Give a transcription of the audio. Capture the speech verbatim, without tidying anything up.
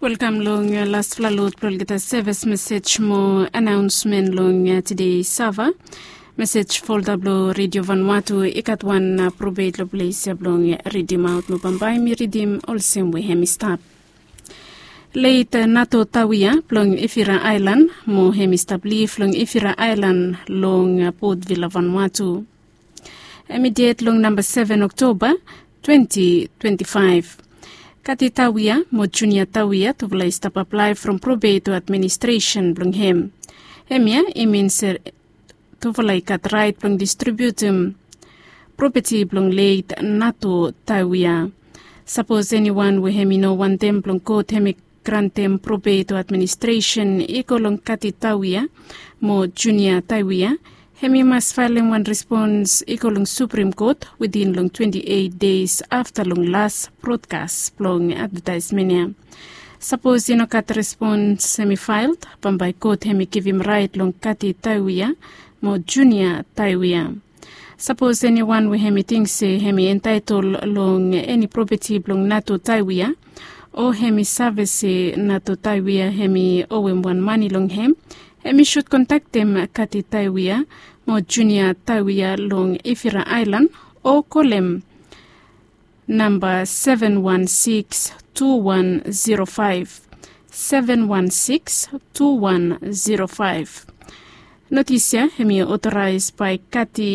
Welkam long laspela lot blong olgeta sevis mesej mo anaonsmen long tide sava. Mesej folda blong Redio Vanuatu i gat wan probet long ples ya blong ridim aut mo bambae mi ridim olsem we hem i stap. Leit Nato Tawia blong Ifira Ailan mo hem i stap lif long Ifira Ailan long Port Vila, Vanuatu. Hem i ded long namba seven Oktoba twenty twenty-five. Kati Tawia mo Junia Tawia tufala i stap aplae from probet administresen blong hem. Hemia i min se tufala i gat rait blong distribiutim propeti blong leit Nato Tawia. Sapos eniwan we hem i no wantem blong kot hem i grantem probet administresen i go long Kati Tawia mo Junia Tawia, hem i mas faelem wan respons i go long Suprim Kot witin long twenti eit des afta long las brodkas blong advetaesmen ya. Sapos i no gat respons hem i fael, bambae kot hem i givim rait long Kati Tawia mo Junia Tawia. Sapos eniwan we hem i ting se hem i entaetol long eni propeti blong Nato Tawia, o hem i save se Nato Tawia hem i owem wan mane long hem, hem i sud kontaktem Kati Tawia mo Junia Tawia long Ifira Ailan, o kolem namba seven one six two one zero five, seven one six two one zero five. Notis ya hem i otoraes bae Kati